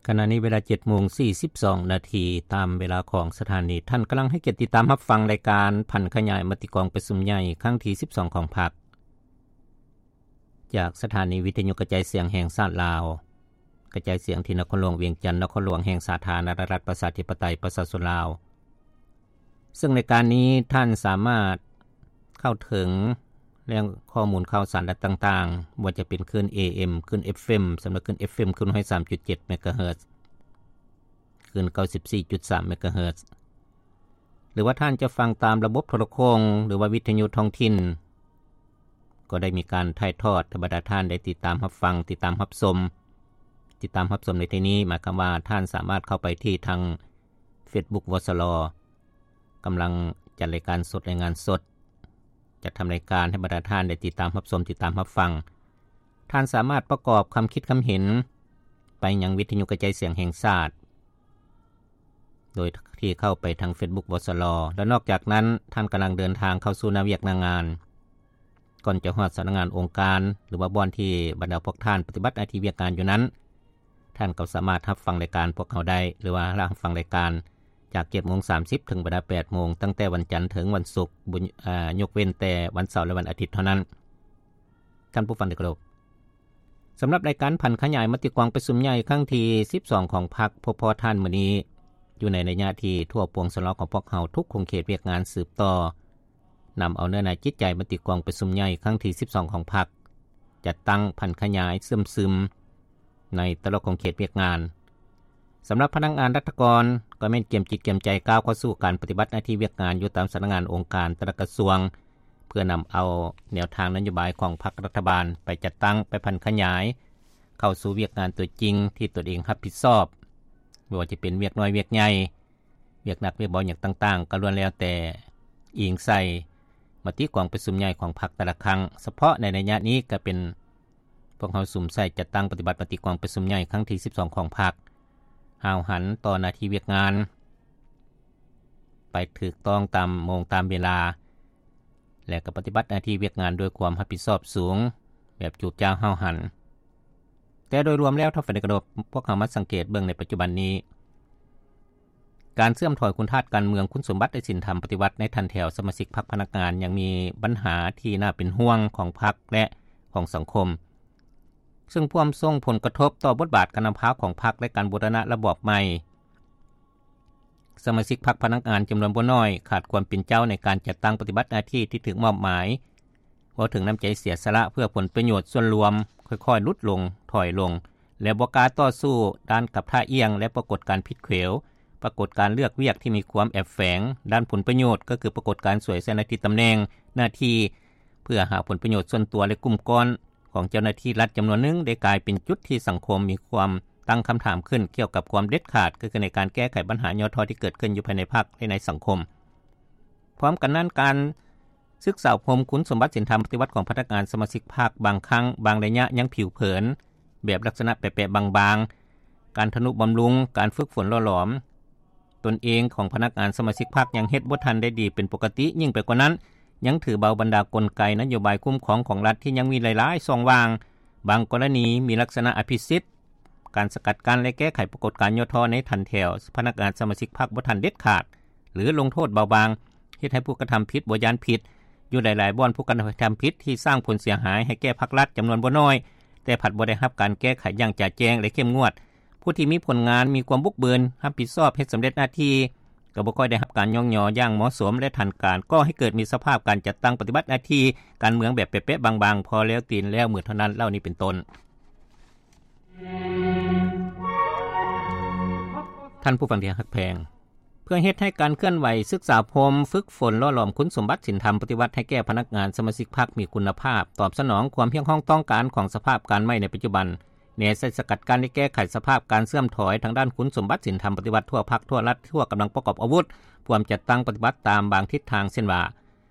ຂະນະນີ້ເວລາເຈັດໂມງສີ່ສິບສອງນາທີ ຕາມເວລາຂອງສະຖານີ. ທ່ານກຳລັງໃຫ້ກຽດຕິດຕາມຮັບຟັງລາຍການຜັນຂະຫຍາຍມະຕິກອງປະຊຸມໃຫຍ່ຄັ້ງທີສິບສອງຂອງພັກ ຈາກສະຖານີວິທະຍຸກະຈາຍສຽງແຫ່ງຊາດລາວ, ກະຈາຍສຽງທີ່ນະຄອນຫຼວງວຽງຈັນ, ນະຄອນຫຼວງແຫ່ງສາທາລະນະລັດປະຊາທິປະໄຕປະຊາຊົນລາວ. ເຊິ່ງລາຍການນີ້ທ່ານສາມາດເຂົ້າເຖິງແຫຼ່ງຂໍ້ມູນຂ່າວສານຕ່າງໆ, ບໍ່ວ່າຈະເປັນຄື້ນ ເອເອັມ, ຄື້ນ ເອັຟເອັມ, ສຳລັບຄື້ນ ເອັຟເອັມ ຄື້ນໜຶ່ງຮ້ອຍສາມຈຸດເຈັດເມກາເຮີດ, ຄື້ນເກົ້າສິບສີ່ຈຸດສາມເມກາເຮີດ, ຫຼືວ່າທ່ານຈະຟັງຕາມລະບົບໂທລະໂຄ່ງ ຫຼືວ່າວິທະຍຸທ້ອງຖິ່ນ ກໍໄດ້ມີການຖ່າຍທອດໃຫ້ບັນດາທ່ານໄດ້ຕິດຕາມຮັບຟັງ, ຕິດຕາມຮັບຊົມ. ຕິດຕາມຮັບຊົມໃນທີ່ນີ້ ໝາຍຄວາມວ່າທ່ານສາມາດເຂົ້າໄປທີ່ທາງ Facebook ວສລ ກຳລັງຈັດລາຍການສົດ, ລາຍງານສົດ, ຈັດທຳລາຍການໃຫ້ບັນດາທ່ານໄດ້ຕິດຕາມຮັບຊົມ, ຕິດຕາມຮັບຟັງ. ທ່ານສາມາດປະກອບຄຳຄິດຄຳເຫັນໄປຍັງວິທະຍຸກະຈາຍສຽງແຫ່ງຊາດ ໂດຍທີ່ເຂົ້າໄປທາງ Facebook ວສລ ແລະ ນອກຈາກນັ້ນ ທ່ານກຳລັງເດີນທາງເຂົ້າສູ່ໜ້າວຽກໜ້າງານ ກ່ອນຈະຮອດສຳນັກງານອົງການ ຫຼືວ່າບ່ອນທີ່ບັນດາພວກທ່ານປະຕິບັດໜ້າທີ່ວຽກງານຢູ່ນັ້ນ, ທ່ານກໍສາມາດຮັບຟັງລາຍການພວກເຮົາໄດ້ ຫຼືວ່າຮັບຟັງລາຍການຈາກເຈັດໂມງສາມສິບເຖິງເວລາແປດໂມງ, ຕັ້ງແຕ່ວັນຈັນເຖິງວັນສຸກ, ບຸນ, ອາ, ຍົກເວັ້ນແຕ່ວັນເສົາ ແລະ ວັນອາທິດເທົ່ານັ້ນ. ທ່ານຜູ້ຟັງທີ່ເຄົາລົບ, ສຳລັບລາຍການຜັນຂະຫຍາຍມະຕິກອງປະຊຸມໃຫຍ່ຄັ້ງທີສິບສອງຂອງພັກ ພົບພໍ້ທ່ານມື້ນີ້ ຢູ່ໃນໄລຍະທີ່ທົ່ວປວງຊົນລາວຂອງພວກເຮົາທຸກຂົງເຂດວຽກງານສືບຕໍ່ ນຳເອົາເນື້ອໃນຈິດໃຈມະຕິກອງປະຊຸມໃຫຍ່ຄັ້ງທີສິບສອງຂອງພັກ ຈັດຕັ້ງຜັນຂະຫຍາຍເຊື່ອມຊຶມໃນແຕ່ລະຂົງເຂດວຽກງານ. ສຳລັບພະນັກງານລັດຖະກອນ ກໍແມ່ນກຽມຈິດກຽມໃຈກ້າວເຂົ້າສູ່ການປະຕິບັດໜ້າທີ່ວຽກງານຢູ່ຕາມສຳນັກງານອົງການແຕ່ລະກະຊວງ ເພື່ອນຳເອົາແນວທາງນະໂຍບາຍຂອງພັກລັດຖະບານໄປຈັດຕັ້ງ, ໄປຜັນຂະຫຍາຍ ເຂົ້າສູ່ວຽກງານຕົວຈິງທີ່ຕົນເອງຮັບຜິດຊອບ, ບໍ່ວ່າຈະເປັນວຽກນ້ອຍວຽກໃຫຍ່, ວຽກໜັກວຽກເບົາຫຍັງຕ່າງໆ ກໍລ້ວນແລ້ວແຕ່ອີງໃສ່ມະຕິກອງປະຊຸມໃຫຍ່ຂອງພັກແຕ່ລະຄັ້ງ. ສະເພາະໃນໄລຍະນີ້ກໍເປັນພວກເຮົາສຸມໃສ່ຈັດຕັ້ງປະຕິບັດມະຕິກອງປະຊຸມໃຫຍ່ຄັ້ງທີສິບສອງຂອງພັກ, ຫ້າວຫັນຕໍ່ໜ້າທີ່ວຽກງານ ໄປຖືກຕ້ອງຕາມໂມງຕາມເວລາ ແລະ ກໍປະຕິບັດໜ້າທີ່ວຽກງານດ້ວຍຄວາມຮັບຜິດຊອບສູງ ແບບຈູບຈ້າວຫ້າວຫັນ. ແຕ່ໂດຍລວມແລ້ວ ທ່ານຜູ້ຟັງທີ່ເຄົາລົບ, ພວກເຮົາມາສັງເກດເບິ່ງໃນປັດຈຸບັນນີ້, ການເສື່ອມຖອຍຄຸນທາດການເມືອງ, ຄຸນສົມບັດ ແລະ ສິນທຳປະຕິວັດໃນຖັນແຖວສະມາຊິກພັກພະນັກງານ ຍັງມີບັນຫາທີ່ໜ້າເປັນຫ່ວງຂອງພັກ ແລະ ຂອງສັງຄົມ, ເຊິ່ງພວມສົ່ງຜົນກະທົບຕໍ່ບົດບາດການນຳພາຂອງພັກ ແລະ ການບູລະນະລະບອບໃໝ່. ສະມາຊິກພັກພະນັກງານຈຳນວນບໍ່ໜ້ອຍ ຂາດຄວາມເປັນເຈົ້າໃນການຈັດຕັ້ງປະຕິບັດໜ້າທີ່ທີ່ຖືກມອບໝາຍ, ເວົ້າເຖິງນ້ຳໃຈເສຍສະຫຼະເພື່ອຜົນປະໂຫຍດສ່ວນລວມ ຄ່ອຍໆຫຼຸດລົງ, ຖອຍລົງ ແລະ ບໍ່ກ້າຕໍ່ສູ້ດ້ານກັບທ່າອ່ຽງ ແລະ ປາກົດການຜິດເຂວ, ປາກົດການເລືອກວຽກທີ່ມີຄວາມແອບແຝງດ້ານຜົນປະໂຫຍດ, ກໍຄືປາກົດການສວຍໃສ່ໜ້າທີ່ຕຳແໜ່ງ, ໜ້າທີ່ ເພື່ອຫາຜົນປະໂຫຍດສ່ວນຕົວ ແລະ ກຸ່ມກ້ອນຂອງເຈົ້າໜ້າທີ່ລັດຈຳນວນໜຶ່ງ ໄດ້ກາຍເປັນຈຸດທີ່ສັງຄົມມີຄວາມຕັ້ງຄຳຖາມຂຶ້ນກ່ຽວກັບຄວາມເດັດຂາດ ກໍຄືໃນການແກ້ໄຂບັນຫາຫຍໍ້ທໍ້ທີ່ເກີດຂຶ້ນຢູ່ພາຍໃນພັກ ແລະ ໃນສັງຄົມ. ພ້ອມກັນນັ້ນ, ການສຶກສາອົບຮົມຄຸນສົມບັດສິນທຳປະຕິວັດຂອງພະນັກງານສະມາຊິກພັກ ບາງຄັ້ງ, ບາງໄລຍະຍັງຜິວເຜີນ, ແບບລັກສະນະແປະໆບາງໆ, ການທະນຸບຳລຸງ, ການຝຶກຝົນຫຼໍ່ຫຼອມ ຕົນເອງຂອງພະນັກງານສະມາຊິກພັກຍັງເຮັດບໍ່ທັນໄດ້ດີເປັນປົກກະຕິ, ຍິ່ງໄປກວ່ານັ້ນ ຍັງຖືເບົາບັນດາກົນໄກນະໂຍບາຍຄຸ້ມຄອງຂອງລັດທີ່ຍັງມີຫຼາຍໆຊ່ອງວ່າງ, ບາງກໍລະນີມີລັກສະນະອະພິສິດ, ການສະກັດກັ້ນ ແລະ ແກ້ໄຂປາກົດການຫຍໍ້ທໍ້ໃນຖັນແຖວພະນັກງານສະມາຊິກພັກບໍ່ທັນເດັດຂາດ ຫຼື ລົງໂທດເບົາບາງ, ເຮັດໃຫ້ຜູ້ກະທຳຜິດບໍ່ຢ້ານຜິດ. ຢູ່ຫຼາຍໆບ່ອນ ຜູ້ກະທຳຜິດທີ່ສ້າງຜົນເສຍຫາຍໃຫ້ແກ່ພັກລັດຈຳນວນບໍ່ໜ້ອຍ, ແຕ່ພັດບໍ່ໄດ້ຮັບການແກ້ໄຂຢ່າງຈະແຈ້ງ ແລະ ເຂັ້ມງວດ. ຜູ້ທີ່ມີຜົນງານ, ມີຄວາມບຸກເບີນ, ຮັບຜິດຊອບ, ເຮັດສຳເລັດໜ້າທີ່ ກໍບໍ່ຄ່ອຍໄດ້ຮັບການຍ້ອງຍໍຢ່າງເໝາະສົມ ແລະ ທັນການ, ກໍ່ໃຫ້ເກີດມີສະພາບການຈັດຕັ້ງປະຕິບັດໜ້າທີ່ການເມືອງແບບແປະໆບາງໆ, ພໍແລ້ວຕີນແລ້ວມືເທົ່ານັ້ນເຫຼົ່ານີ້ເປັນຕົ້ນ. ທ່ານຜູ້ຟັງທີ່ຮັກແພງ, ເພື່ອເຮັດໃຫ້ການເຄື່ອນໄຫວສຶກສາອົບຮົມ, ຝຶກຝົນ, ຫຼໍ່ຫຼອມຄຸນສົມບັດສິນທຳປະຕິວັດໃຫ້ແກ່ພະນັກງານສະມາຊິກພັກມີຄຸນນະພາບ, ຕອບສະໜອງຄວາມຮຽກຮ້ອງຕ້ອງການຂອງສະພາບການໃໝ່ໃນປັດຈຸບັນ, ແນໃສ່ສະກັດກັ້ນ ແລະ ແກ້ໄຂສະພາບການເສື່ອມຖອຍທາງດ້ານຄຸນສົມບັດສິນທຳປະຕິວັດທົ່ວພັກ, ທົ່ວລັດ, ທົ່ວກຳລັງປະກອບອາວຸດ, ພວມຈັດຕັ້ງປະຕິບັດຕາມບາງທິດທາງ, ເຊັ່ນວ່າ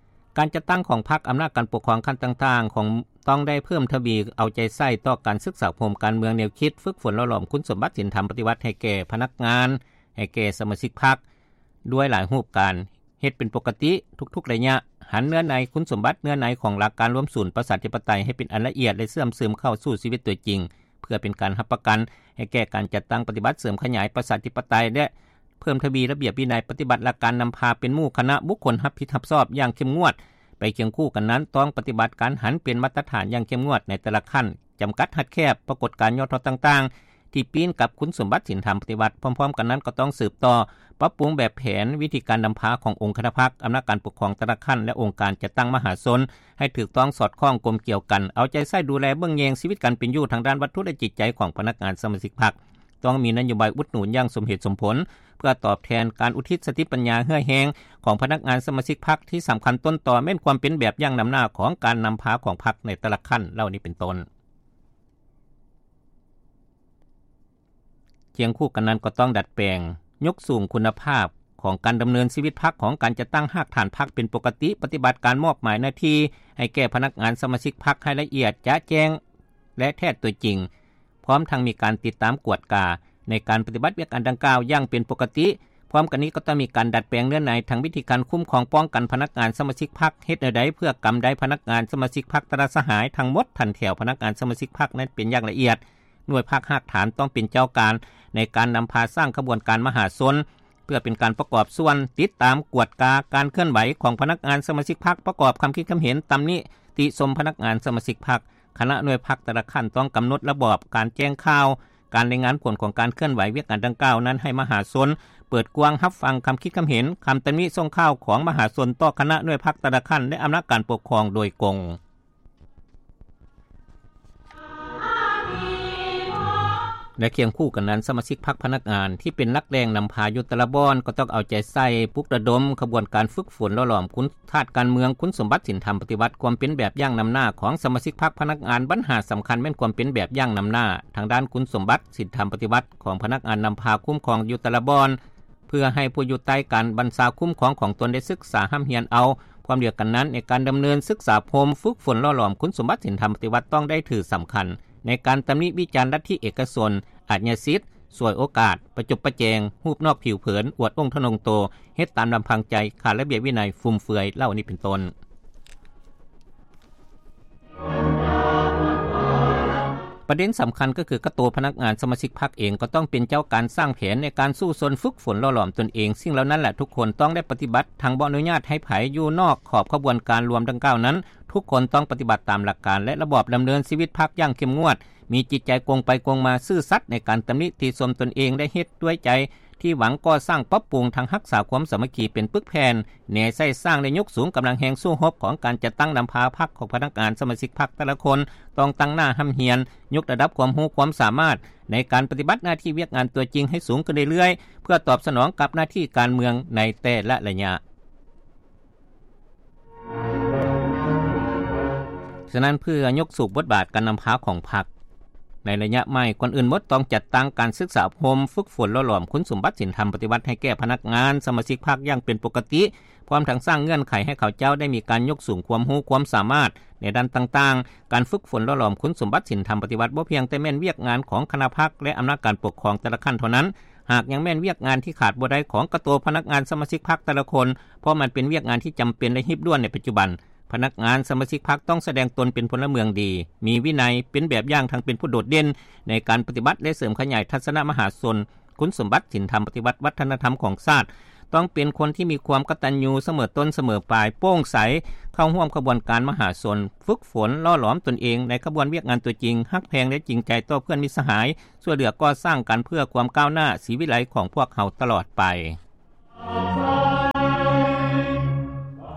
ການຈັດຕັ້ງຂອງພັກ, ອຳນາດການປົກຄອງຂັ້ນຕ່າງໆ ຂອງ ຕ້ອງໄດ້ເພີ່ມທະວີເອົາໃຈໃສ່ຕໍ່ການສຶກສາອົບຮົມການເມືອງ, ແນວຄິດ, ຝຶກຝົນ, ຫຼໍ່ຫຼອມຄຸນສົມບັດສິນທຳປະຕິວັດໃຫ້ແກ່ພະນັກງານ, ໃຫ້ແກ່ສະມາຊິກພັກ ດ້ວຍຫຼາຍຮູບການ, ເຮັດເປັນປົກກະຕິທຸກໆໄລຍະ, ຫັນເນື້ອໃນຄຸນສົມບັດ, ເນື້ອໃນຂອງຫຼັກການລວມສູນປະຊາທິປະໄຕໃຫ້ເປັນອັນລະອຽດ ແລະ ເຊື່ອມຊຶມເຂົ້າສູ່ຊີວິດຕົວຈິງ, ເພື່ອເປັນການຮັບປະກັນໃຫ້ແກ່ການຈັດຕັ້ງປະຕິບັດເສີມຂະຫຍາຍປະຊາທິປະໄຕ ແລະ ເພີ່ມທະວີລະບຽບວິໄນປະຕິບັດຫຼັກການນຳພາເປັນໝູ່ຄະນະບຸກຄົນຮັບຜິດຮັບຊອບຢ່າງເຂັ້ມງວດ ໄປຄຽງຄູ່ກັນນັ້ນ ຕ້ອງປະຕິບັດການຫັນເປັນມາດຕະຖານຢ່າງເຂັ້ມງວດໃນແຕ່ລະຂັ້ນ, ຈຳກັດຮັດແຄບປາກົດການຍໍທໍດຕ່າງໆ ທີ່ປີ້ນກັບຄຸນສົມບັດສິນທຳປະຕິວັດ. ພ້ອມໆກັນນັ້ນກໍຕ້ອງສືບຕໍ່ປັບປຸງແບບແຜນວິທີການນຳພາຂອງອົງຄະນະພັກ, ອຳນາດການປົກຄອງແຕ່ລະຂັ້ນ ແລະ ອົງການຈັດຕັ້ງມະຫາຊົນ ໃຫ້ຖືກຕ້ອງສອດຄ່ອງກົມກຽວກັນ, ເອົາໃຈໃສ່ດູແລເບິ່ງແຍງຊີວິດການເປັນຢູ່ທາງດ້ານວັດຖຸ ແລະ ຈິດໃຈຂອງພະນັກງານສະມາຊິກພັກ. ຕ້ອງມີນະໂຍບາຍອຸດໜູນຢ່າງສົມເຫດສົມຜົນ ເພື່ອຕອບແທນການອຸທິດສະຕິປັນຍາເຫື່ອແຮງຂອງພະນັກງານສະມາຊິກພັກ ທີ່ສຳຄັນຕົ້ນຕໍແມ່ນຄວາມເປັນແບບຢ່າງນຳໜ້າຂອງການນຳພາຂອງພັກໃນແຕ່ລະຂັ້ນເຫຼົ່ານີ້ເປັນຕົ້ນ. ຄຽງຄູ່ກັນນັ້ນກໍຕ້ອງດັດແປງ, ຍົກສູງຄຸນນະພາບຂອງການດຳເນີນຊີວິດພັກ, ຂອງການຈັດຕັ້ງຮາກຖານພັກເປັນປົກກະຕິ, ປະຕິບັດການມອບໝາຍໜ້າທີ່ໃຫ້ແກ່ພະນັກງານສະມາຊິກພັກໃຫ້ລະອຽດ, ຈະແຈ້ງ ແລະ ແທດຕົວຈິງ, ພ້ອມທັງມີການຕິດຕາມກວດກາໃນການປະຕິບັດວຽກງານດັ່ງກ່າວຢ່າງເປັນປົກກະຕິ. ພ້ອມກັນນີ້ກໍຕ້ອງມີການດັດແປງເນື້ອໃນທາງວິທີການຄຸ້ມຄອງປ້ອງກັນພະນັກງານສະມາຊິກພັກ, ເຮັດແນວໃດເພື່ອກຳໄດ້ພະນັກງານສະມາຊິກພັກແຕ່ລະສະຫາຍທັງໝົດຖັນແຖວພະນັກງານສະມາຊິກພັກນັ້ນເປັນຢ່າງລະອຽດ. ໜ່ວຍພັກຮາກຖານຕ້ອງເປັນເຈົ້າການໃນການນຳພາສ້າງຂະບວນການມະຫາຊົນ ເພື່ອເປັນການປະກອບສ່ວນຕິດຕາມກວດກາການເຄື່ອນໄຫວຂອງພະນັກງານສະມາຊິກພັກ, ປະກອບຄຳຄິດຄຳເຫັນ, ຕຳໜິຕິຊົມພະນັກງານສະມາຊິກພັກ. ຄະນະໜ່ວຍພັກແຕ່ລະຂັ້ນຕ້ອງກຳນົດລະບອບການແຈ້ງຂ່າວ, ການລາຍງານຜົນຂອງການເຄື່ອນໄຫວວຽກງານດັ່ງກ່າວນັ້ນໃຫ້ມະຫາຊົນເປີດກວ້າງຮັບຟັງຄຳຄິດຄຳເຫັນ, ຄຳຕຳໜິສົ່ງຂ່າວຂອງມະຫາຊົນຕໍ່ຄະນະໜ່ວຍພັກແຕ່ລະຂັ້ນ ແລະ ອຳນາດການປົກຄອງໂດຍກົງ. ແລະ ຄຽງຄູ່ກັນນັ້ນ, ສະມາຊິກພັກພະນັກງານທີ່ເປັນຫຼັກແຫຼ່ງນຳພາຢູ່ແຕ່ລະບ່ອນ ກໍຕ້ອງເອົາໃຈໃສ່ປຸກລະດົມຂະບວນການຝຶກຝົນຫຼໍ່ຫຼອມຄຸນທາດການເມືອງ, ຄຸນສົມບັດສິນທຳປະຕິວັດ, ຄວາມເປັນແບບຢ່າງນຳໜ້າຂອງສະມາຊິກພັກພະນັກງານ. ບັນຫາສຳຄັນແມ່ນຄວາມເປັນແບບຢ່າງນຳໜ້າທາງດ້ານຄຸນສົມບັດສິນທຳປະຕິວັດຂອງພະນັກງານນຳພາຄຸ້ມຄອງຢູ່ແຕ່ລະບ່ອນ ເພື່ອໃຫ້ຜູ້ຢູ່ໃຕ້ການບັນຊາຄຸ້ມຄອງຂອງຕົນໄດ້ສຶກສາຮ່ຳຮຽນເອົາ. ພ້ອມດຽວກັນນັ້ນ, ໃນການດຳເນີນສຶກສາອົບຮົມຝຶກຝົນຫຼໍ່ຫຼອມຄຸນສົມບັດສິນທຳປະຕິວັດ ຕ້ອງໄດ້ຖືສຳຄັນໃນການຕຳໜິວິຈານລັດທິເອກະຊົນ, ອາດຍາສິດ, ສວຍໂອກາດ, ປະຈົບປະແຈງ, ຮູບນອກຜິວເຜີນ, ອວດອົງທະນົງໂຕ, ເຮັດຕາມລຳພັງໃຈ, ຂາດລະບຽບວິໄນ, ຟຸມເຟືອຍ ເຫຼົ່ານີ້ເປັນຕົ້ນ. ປະເດັນສຳຄັນກໍຄື ກະໂຕພະນັກງານສະມາຊິກພັກເອງກໍຕ້ອງເປັນເຈົ້າການສ້າງແຜນໃນການສູ້ຊົນຝຶກຝົນຫຼໍ່ຫຼອມຕົນເອງ. ສິ່ງເຫຼົ່ານັ້ນແຫຼະ ທຸກຄົນຕ້ອງໄດ້ປະຕິບັດ, ທັງບໍ່ອະນຸຍາດໃຫ້ໃຜຢູ່ນອກຂອບຂະບວນການລວມດັ່ງກ່າວນັ້ນ. ທຸກຄົນຕ້ອງປະຕິບັດຕາມຫຼັກການ ແລະ ລະບອບດຳເນີນຊີວິດພັກຢ່າງເຂັ້ມງວດ, ມີຈິດໃຈກົງໄປກົງມາ, ຊື່ສັດໃນການຕຳໜິຕິຊົມຕົນເອງ ແລະ ເຮັດດ້ວຍໃຈ ທີ່ຫວັງກໍ່ສ້າງປັບປຸງ ທັງຮັກສາຄວາມສາມັກຄີເປັນປຶກແຜ່ນ, ແນໃສ່ສ້າງ ແລະ ຍົກສູງກຳລັງແຮງສູ້ຮົບຂອງການຈັດຕັ້ງນຳພາພັກຂອງພະນັກງານສະມາຊິກພັກແຕ່ລະຄົນ, ຕ້ອງຕັ້ງໜ້າຮ່ຳຮຽນ, ຍົກລະດັບຄວາມຮູ້ຄວາມສາມາດໃນການປະຕິບັດໜ້າທີ່ວຽກງານຕົວຈິງໃຫ້ສູງຂຶ້ນເລື້ອຍໆ ເພື່ອຕອບສະໜອງກັບໜ້າທີ່ການເມືອງໃນແຕ່ລະໄລຍະ. ສະນັ້ນ ເພື່ອຍົກສູງບົດບາດການນຳພາຂອງພັກໃນໄລຍະໃໝ່, ກ່ອນອື່ນໝົດຕ້ອງຈັດຕັ້ງການສຶກສາອົບຮົມຝຶກຝົນຫຼໍ່ຫຼອມຄຸນສົມບັດສິນທຳປະຕິວັດໃຫ້ແກ່ພະນັກງານສະມາຊິກພັກຢ່າງເປັນປົກກະຕິ, ພ້ອມທັງສ້າງເງື່ອນໄຂໃຫ້ເຂົາເຈົ້າໄດ້ມີການຍົກສູງຄວາມຮູ້ຄວາມສາມາດໃນດ້ານຕ່າງໆ. ການຝຶກຝົນຫຼໍ່ຫຼອມຄຸນສົມບັດສິນທຳປະຕິວັດບໍ່ພຽງແຕ່ແມ່ນວຽກງານຂອງຄະນະພັກ ແລະ ອຳນາດການປົກຄອງແຕ່ລະຂັ້ນເທົ່ານັ້ນ, ຫາກຍັງແມ່ນວຽກງານທີ່ຂາດບໍ່ໄດ້ຂອງກະໂຕພະນັກງານສະມາຊິກພັກແຕ່ລະຄົນ, ເພາະມັນເປັນວຽກງານທີ່ຈຳເປັນ ແລະ ຮີບດ່ວນໃນປັດຈຸບັນ. ພະນັກງານສະມາຊິກພັກຕ້ອງສະແດງຕົນເປັນພົນລະເມືອງດີ, ມີວິໄນ, ເປັນແບບຢ່າງທັງເປັນຜູ້ໂດດເດັ່ນໃນການປະຕິບັດ ແລະ ເສີມຂະຫຍາຍທັດສະນະມະຫາຊົນ, ຄຸນສົມບັດສິນທຳປະຕິວັດວັດທະນະທຳຂອງຊາດ, ຕ້ອງເປັນຄົນທີ່ມີຄວາມກະຕັນຍູສະເໝີຕົ້ນສະເໝີປາຍ, ໂປ່ງໃສ, ເຂົ້າຮ່ວມຂະບວນການມະຫາຊົນ, ຝຶກຝົນຫຼໍ່ຫຼອມຕົນເອງໃນຂະບວນວຽກງານຕົວຈິງ, ຮັກແພງ ແລະ ຈິງໃຈຕໍ່ເພື່ອນມິດສະຫາຍ, ຊ່ວຍເຫຼືອກໍ່ສ້າງກັນເພື່ອຄວາມກ້າວໜ້າສີວິໄລຂອງພວກເຮົາຕະຫຼອດໄປ.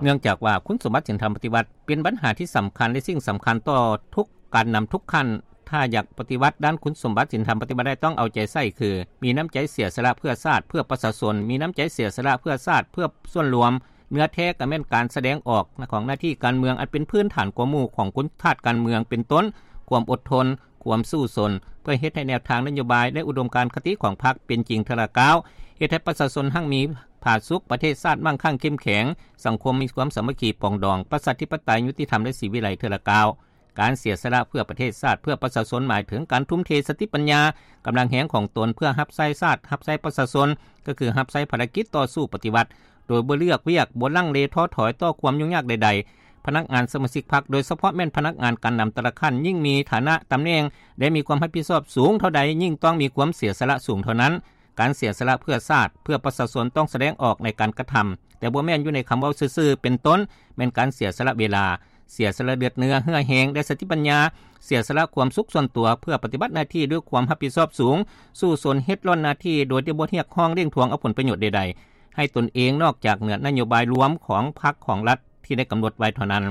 ເນື່ອງຈາກວ່າຄຸນສົມບັດສິນທຳປະຕິວັດເປັນບັນຫາທີ່ສຳຄັນ ແລະ ສິ່ງສຳຄັນຕໍ່ທຸກການນຳທຸກຂັ້ນ, ຖ້າຢາກປະຕິວັດດ້ານຄຸນສົມບັດສິນທຳປະຕິວັດໄດ້ ຕ້ອງເອົາໃຈໃສ່ຄື ມີນ້ຳໃຈເສຍສະຫຼະເພື່ອຊາດ, ເພື່ອປະຊາຊົນ, ມີນ້ຳໃຈເສຍສະຫຼະເພື່ອຊາດ, ເພື່ອສ່ວນລວມ. ເນື້ອແທ້ກໍແມ່ນການສະແດງອອກຂອງໜ້າທີ່ການເມືອງອັນເປັນພື້ນຖານກວ່າໝູ່ຂອງຄຸນທາດການເມືອງ ເປັນຕົ້ນ ຄວາມອົດທົນ, ຄວາມສູ້ຊົນ ເພື່ອເຮັດໃຫ້ແນວທາງນະໂຍບາຍ ແລະ ອຸດົມການຄະຕິຂອງພັກເປັນຈິງເທື່ອລະກ້າວ, ເຮັດໃຫ້ປະຊາຊົນຮັ່ງມີຜາສຸກ, ປະເທດຊາດໝັ້ງຄັ່ງເຂັ້ມແຂງ, ສັງຄົມມີຄວາມສາມັກຄີປອງດອງ, ປະຊາທິປະໄຕ, ຍຸຕິທຳ ແລະ ສີວິໄລເທື່ອລະກ້າວ. ການເສຍສະຫຼະເພື່ອປະເທດຊາດ, ເພື່ອປະຊາຊົນ ໝາຍເຖິງການທຸ່ມເທສະຕິປັນຍາ, ກຳລັງແຮງຂອງຕົນເພື່ອຮັບໃຊ້ຊາດ, ຮັບໃຊ້ປະຊາຊົນ, ກໍຄືຮັບໃຊ້ພາລະກິດຕໍ່ສູ້ປະຕິວັດ ໂດຍບໍ່ເລືອກວຽກ, ບໍ່ລັງເລທໍ້ຖອຍຕໍ່ຄວາມຫຍຸ້ງຍາກໃດໆ. ພະນັກງານສະມາຊິກພັກ ໂດຍສະເພາະແມ່ນພະນັກງານການນຳແຕ່ລະຂັ້ນ ຍິ່ງມີຖານະຕຳແໜ່ງ ແລະ ມີຄວາມຮັບຜິດຊອບສູງເທົ່າໃດ ຍິ່ງຕ້ອງມີຄວາມເສຍສະຫຼະສູງເທົ່ານັ້ນ. ການເສຍສະຫຼະເພື່ອຊາດ, ເພື່ອປະຊາຊົນ ຕ້ອງສະແດງອອກໃນການກະທຳ, ແຕ່ບໍ່ແມ່ນຢູ່ໃນຄຳເວົ້າຊື່ໆ, ເປັນຕົ້ນ ແມ່ນການເສຍສະຫຼະເວລາ, ເສຍສະຫຼະເລືອດເນື້ອ, ເຫື່ອແຮງ ແລະ ສະຕິປັນຍາ, ເສຍສະຫຼະຄວາມສຸກສ່ວນຕົວ ເພື່ອປະຕິບັດໜ້າທີ່ດ້ວຍຄວາມຮັບຜິດຊອບສູງ, ສູ້ຊົນເຮັດລ້ອນໜ້າທີ່ໂດຍທີ່ບໍ່ຮຽກຮ້ອງເລັ່ງທວງເອົາຜົນປະໂຫຍດໃດໆ ໃຫ້ຕົນເອງ ນອກຈາກເໜືອນະໂຍບາຍລວມຂອງພັກຂອງລັດທີ່ໄດ້ກຳນົດໄວ້ເທົ່ານັ້ນ.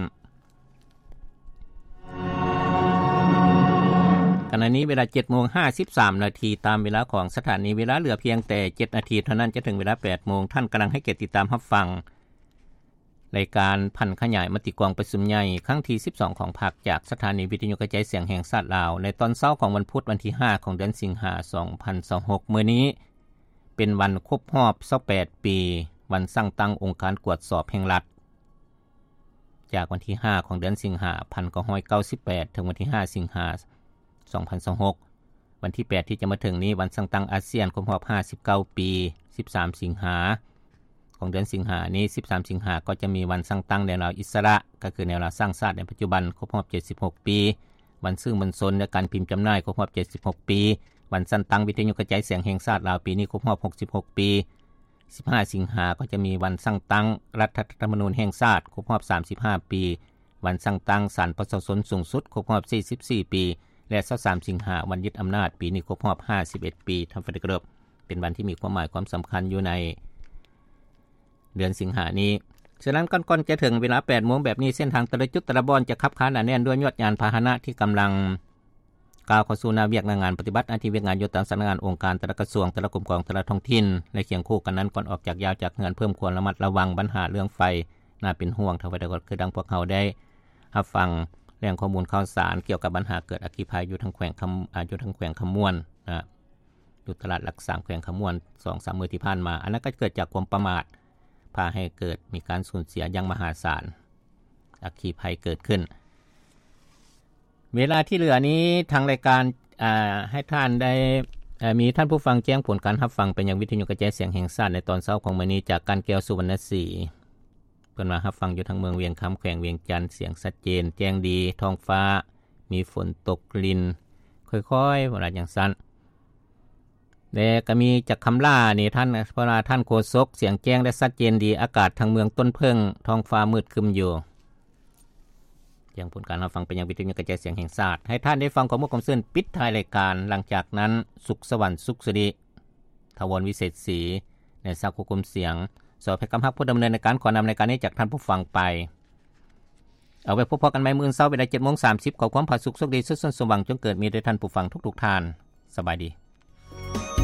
ຂະນະນີ້ເວລາເຈັດໂມງຫ້າສິບສາມນາທີ ຕາມເວລາຂອງສະຖານີ, ເວລາເຫຼືອພຽງແຕ່ເຈັດນາທີເທົ່ານັ້ນ ຈະເຖິງເວລາແປດໂມງ. ທ່ານກຳລັງໃຫ້ກຽດຕິດຕາມຮັບຟັງ ລາຍການຜັນຂະຫຍາຍມະຕິກອງປະຊຸມໃຫຍ່ຄັ້ງທີສິບສອງຂອງພັກ ຈາກສະຖານີວິທະຍຸກະຈາຍສຽງແຫ່ງຊາດລາວ ໃນຕອນເຊົ້າຂອງວັນພຸດ ວັນທີຫ້າຂອງເດືອນສິງຫາ ສອງພັນຊາວຫົກ. ມື້ນີ້ເປັນວັນຄົບຮອບຊາວແປດປີ ວັນສ້າງຕັ້ງອົງການກວດສອບແຫ່ງລັດ ຈາກວັນທີຫ້າຂອງເດືອນສິງຫາ ພັນເກົ້າຮ້ອຍເກົ້າສິບແປດ ເຖິງວັນທີຫ້າສິງຫາ ສອງພັນຊາວຫົກ. ວັນທີແປດທີ່ຈະມາເຖິງນີ້ ວັນສ້າງຕັ້ງອາຊຽນຄົບຮອບຫ້າສິບເກົ້າປີ ສິບສາມສິງຫາ ຂອງເດືອນສິງຫານີ້ ສິບສາມສິງຫາ ກໍຈະມີວັນສ້າງຕັ້ງແນວລາວອິດສະຫຼະ ກໍຄືແນວລາວສ້າງຊາດໃນປັດຈຸບັນ ຄົບຮອບເຈັດສິບຫົກປີ, ວັນສື່ມວນຊົນ ແລະ ການພິມຈຳໜ່າຍ ຄົບຮອບເຈັດສິບຫົກປີ, ວັນສ້າງຕັ້ງວິທະຍຸກະຈາຍສຽງແຫ່ງຊາດລາວ ປີນີ້ຄົບຮອບຫົກສິບຫົກປີ. ສິບຫ້າສິງຫາ ກໍຈະມີວັນສ້າງຕັ້ງລັດຖະທຳມະນູນແຫ່ງຊາດ ຄົບຮອບສາມສິບຫ້າປີ, ວັນສ້າງຕັ້ງສານປະຊາຊົນສູງສຸດ ຄົບຮອບສີ່ສິບສີ່ປີ ແລະ ຊາວສາມສິງຫາ ວັນຍຶດອຳນາດ ປີນີ້ຄົບຮອບຫ້າສິບເອັດປີ. ທ່ານທີ່ເຄົາລົບ, ເປັນວັນທີ່ມີຄວາມໝາຍຄວາມສຳຄັນຢູ່ໃນເດືອນສິງຫານີ້. ສະນັ້ນ ກ່ອນ ກ່ອນຈະເຖິງເວລາແປດໂມງແບບນີ້ ເສັ້ນທາງແຕ່ລະຈຸດແຕ່ລະບ່ອນຈະຄັບຄາໜາແໜ້ນດ້ວຍຍວດຍານພາຫະນະທີ່ກຳລັງ ກ້າວເຂົ້າສູ່ໜ້າວຽກໜ້າງານ ປະຕິບັດໜ້າທີ່ວຽກງານຢູ່ຕາມສຳນັກງານ, ອົງການ, ແຕ່ລະກະຊວງ, ແຕ່ລະກົມກອງ, ແຕ່ລະທ້ອງຖິ່ນ ແລະ ຄຽງຄູ່ກັນນັ້ນ ກ່ອນອອກຈາກ ຍ້າຍຈາກເຮືອນ ເພີ່ມຄວາມລະມັດລະວັງບັນຫາເລື່ອງໄຟໜ້າເປັນຫ່ວງ. ເທົ່າໃດກໍຄືດັ່ງພວກເຮົາໄດ້ຮັບຟັງແຫຼ່ງຂໍ້ມູນຂ່າວສານກ່ຽວກັບບັນຫາເກີດອັກຄີໄພຢູ່ທາງແຂວງຄຳ ອາ ຢູ່ທາງແຂວງຄຳມ່ວນນະ ຢູ່ຕະຫຼາດຫຼັກສາມ ແຂວງຄຳມ່ວນ ສອງສາມມື້ທີ່ຜ່ານມາ. ອັນນັ້ນກໍເກີດຈາກຄວາມປະໝາດ ພາໃຫ້ເກີດມີການສູນເສຍຢ່າງມະຫາສານ ອັກຄີໄພເກີດຂຶ້ນ. ເວລາທີ່ເຫຼືອນີ້ ທາງລາຍການ ອາ ໃຫ້ທ່ານໄດ້ ເອີ ມີທ່ານຜູ້ຟັງແຈ້ງຜົນການຮັບຟັງໄປຍັງວິທະຍຸກະຈາຍສຽງແຫ່ງຊາດໃນຕອນເຊົ້າຂອງມື້ນີ້ ຈາກການແກ້ວ ສຸວັນນະສີ. ເພິ່ນວ່າຮັບຟັງຢູ່ທາງເມືອງວຽງຄຳ ແຂວງວຽງຈັນ, ສຽງຊັດເຈນ ແຈ້ງດີ, ທ້ອງຟ້າມີຝົນຕົກລິນຄ່ອຍໆ ເພິ່ນວ່າຈັ່ງຊັ້ນ. ແລະ ກໍມີຈາກຄຳຫຼ້ານີ້ ທ່ານ ເພິ່ນວ່າ ທ່ານໂຄສົກ ສຽງແຈ້ງ ແລະ ຊັດເຈນດີ, ອາກາດທາງເມືອງຕົ້ນເຜິ້ງ ທ້ອງຟ້າມືດຄຶ້ມຢູ່. ແຈ້ງຜົນການຮັບຟັງໄປຍັງວິທະຍຸກະຈາຍສຽງແຫ່ງຊາດ. ໃຫ້ທ່ານໄດ້ຟັງຂໍ້ມູນຄວາມຊື່ນປິດທ້າຍລາຍການ. ຫຼັງຈາກນັ້ນ ສຸກສະຫວັນ ສຸກສິລິ, ຖາວອນ ວິເສດສີ ແລະ ສັກ ໂຄກົມສຽງ, ສ ເພັດຄຳຮັກ ຜູ້ດຳເນີນລາຍການ ຂໍນຳລາຍການນີ້ຈາກທ່ານຜູ້ຟັງໄປ. ເອົາໄວ້ພົບພໍ້ກັນໃໝ່ມື້ອື່ນເຊົ້າເວລາເຈັດໂມງສາມສິບ. ຂໍຄວາມຜາສຸກໂຊກດີ ສຸກສັນສົມຫວັງ ຈົ່ງເກີດມີແດ່ທ່ານຜູ້ຟັງທຸກໆທ່ານ. ສະບາຍດີ.